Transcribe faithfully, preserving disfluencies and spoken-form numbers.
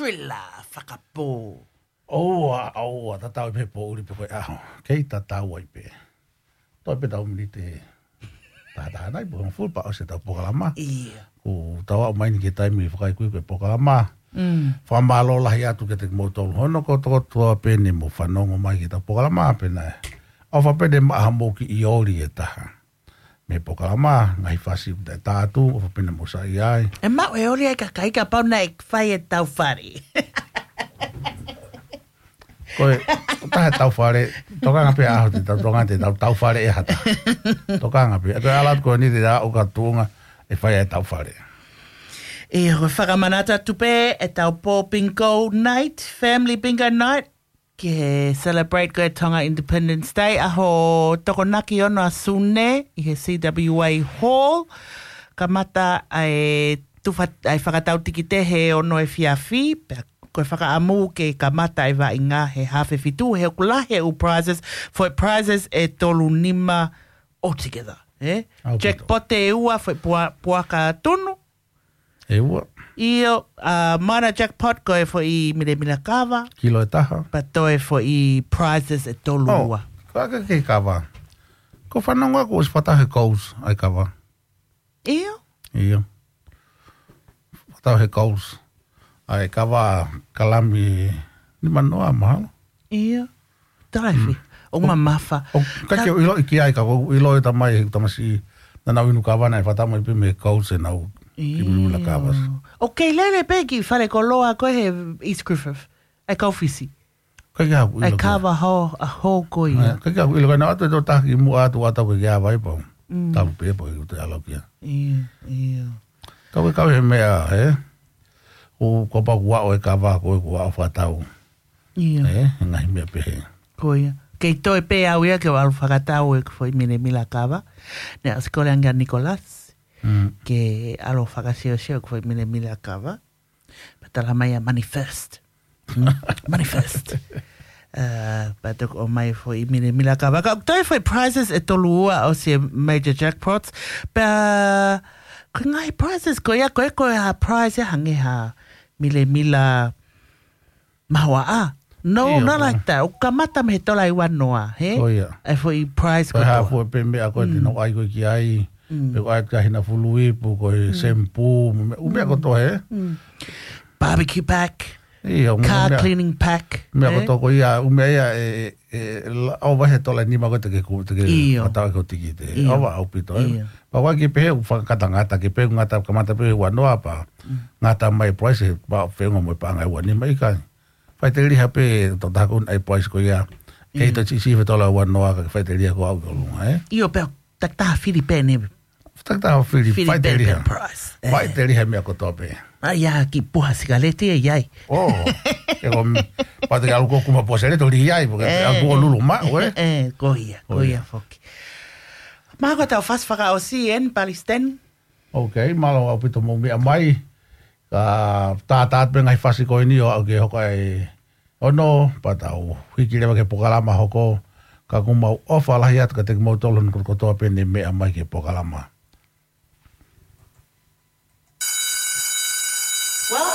Pela fakapō. ʻOua, ʻoua, tatau ai pē poʻuli pe ko e ʻaho. Kei tatau ai pē. Toe pē tau miniti tahataha nai, pe ko e hongofulu pea ʻosi ʻetau polokalama. ʻIo. Kuo tau aʻu mai eni ki he taimi fakaikuiku e polokalama. Mm. Fakamālō lahi atu kiate kimoutolu hono kotokotoa pē ne mou fanongo mai ki heʻetau polokalama pē nai. ʻOfa pē ne maʻa hamou kiʻi oli ʻe taha mei he polokalama, ngaahi fasi ʻoku taʻetātu, ʻofa pē ne mou saiʻia ai. ʻE maʻu e oli ai kakai kapau naʻe fai e tau fale. Ko e, ko e taha e tau fale, tokanga pē ʻaho te tau, tokanga te tau, tau fale ʻe ha taha. Tokanga pē, ʻe toe ʻalu atu ko eni te aʻu ki tuʻunga ʻe fai e tau fale. ʻIo, ko e fakamanatu atu pē ʻetau pō bingo night, family bingo night, ke celebrate ko e Tonga Independence Day, ʻaho Tokonaki ono ʻa Sune ʻi he C W A Hall. Kamata ʻa e tufa, ʻa e fakatau tikite he ono efiafi, pea ko e fakaʻamu ke kamata e vaʻinga he haafe fitu, he ʻoku lahi e ʻū prizes, foʻi prizes ʻe tolu nima altogether, ē? ʻAupito. Jackpot ʻe ua, foʻi pua-, puaka tunu. ʻE ua. ʻIo, ʻa, minor jackpot ko e foʻi milemila kava. Kilo ʻe taha. Pea toe foʻi prizes ʻe tolu ua. ʻOu, ka ke kei kava. Ko e fanongo ʻaku ʻosi fakatau he Coles ʻa e kava. ʻIo. ʻIo. Fakatau he Coles ʻa e kava kalami nimanoa mahalo. ʻIo. Tala e fē. Mm. ʻOku mamafa. ʻOku ʻikai ke u ʻiloʻi ki ai ka ʻoku ou ʻilo e tamai, he tamasiʻi naʻa nau inu kava naʻe fakatau mai pē mei he Coles ʻenau kiʻi milemila kava. ʻIo. ʻOku kei lele pē ki falekoloa ko ē he East Griffith. ʻA e kau Fisi. ʻIkai ke u ʻilo ki ai. ʻA e kava ho, ʻa ho ko ia. ʻIkai ke u ʻilo ki ai, naʻa ʻoatu e tokotaha kimuʻa atu ʻa tau ke ke ava ai pau. Mm. Talu pē pau ke u te ʻalu ki ai. ʻIo, ʻio. Kau ke kau he meʻa, ē? ʻOku, kapau kuo aʻu e kava ko ē kuo aʻu fakatau. ʻIo. Ē, he ngaahi meʻa pehē. Ko ia. Kei toe pē au ia ke u ʻalu fakatau ʻeku foʻi milemila kava. Naʻe ʻosi kole ange ʻa Nicholas. Mm. Ke ʻalu fakasiosio ʻeku foʻi milemila kava. Pea tala mai ʻa Money First. Mm, Money First. Uh, pea toki ʻomai foʻi milemila kava. Ka toe foʻi prizes ʻe tolu ua ʻosi e major jackpots. Pea, ko e ngaahi prizes ko ia, ko e, ko e ha prize ʻe hangē ha milemila mahoaʻa. No, ʻio, not ko like that. ʻOku kamata mei he tola ʻe ua noa, hē? Ko ia. E foʻi prize ko e kotoa. Hā fua pē meʻa ko ē te Mm. nau ʻai ko ē ki ai. Mm. Pe ko e ʻai ki ai hina fulu ipu, ko e Mm. shampoo, me-, ʻū meʻa Mm. kotoa, hē? Mm. Barbecue pack. ʻIo, ʻū Car meʻa. Cleaning pack, Meʻa hē? Kotoa ko ia, ʻū meʻa ia, e, e, e, la-, ʻo vahe tola ʻe nima ko ē te ke ku-, te ke ʻIo. Fakatau ko e tikite. ʻIo. ʻOua ʻaupito, ē? ʻIo. Pea ʻoua ke pehē ʻoku fakangata, ngata ke pehē ʻoku ngata, kamata pē he ua noa pea Mm. ngata mai e price, pea feʻunga mo e paʻanga ʻe ua nima ʻikai. Faʻiteliha pē tokotaha ko ē ʻa e price ko ia. Kei Mm. toe siʻisiʻi e tola ʻe ua noa ka faʻiteliha ko ē ʻo aʻu ki ʻolunga, ē? ʻIo, pea takitaha fili pē ne. Takitaha fili, Fili pē faʻiteliha. Pē price. Ē. Faʻiteliha meʻa kotoa pē. ʻAi, ʻa e kiʻi puha sikaleti ʻe ʻi ai. ʻO, ʻe ko m-, pea te ke ʻalu ko ē ʻo kuma puha sikaleti ʻo lī ai, pea ke Ē. ʻalu ko ē ʻo lulu maʻu, ē? Ē, ko ia, ko Ko ia ia. Foki. Mahalo ko ʻetau fasi fakaʻosi eni, Palestine. Ok, mālō ʻaupito hoʻomou meʻa mai. Ka tātā pē ngaahi fasi ko eni ʻo aʻu ki he hoka ʻe ono, pea tau hiki leva ki he polokalama hoko, ka ʻoku mau ʻofa lahi atu kiate kimoutolu hono kotoa pē ne meʻa mai ki he polokalama.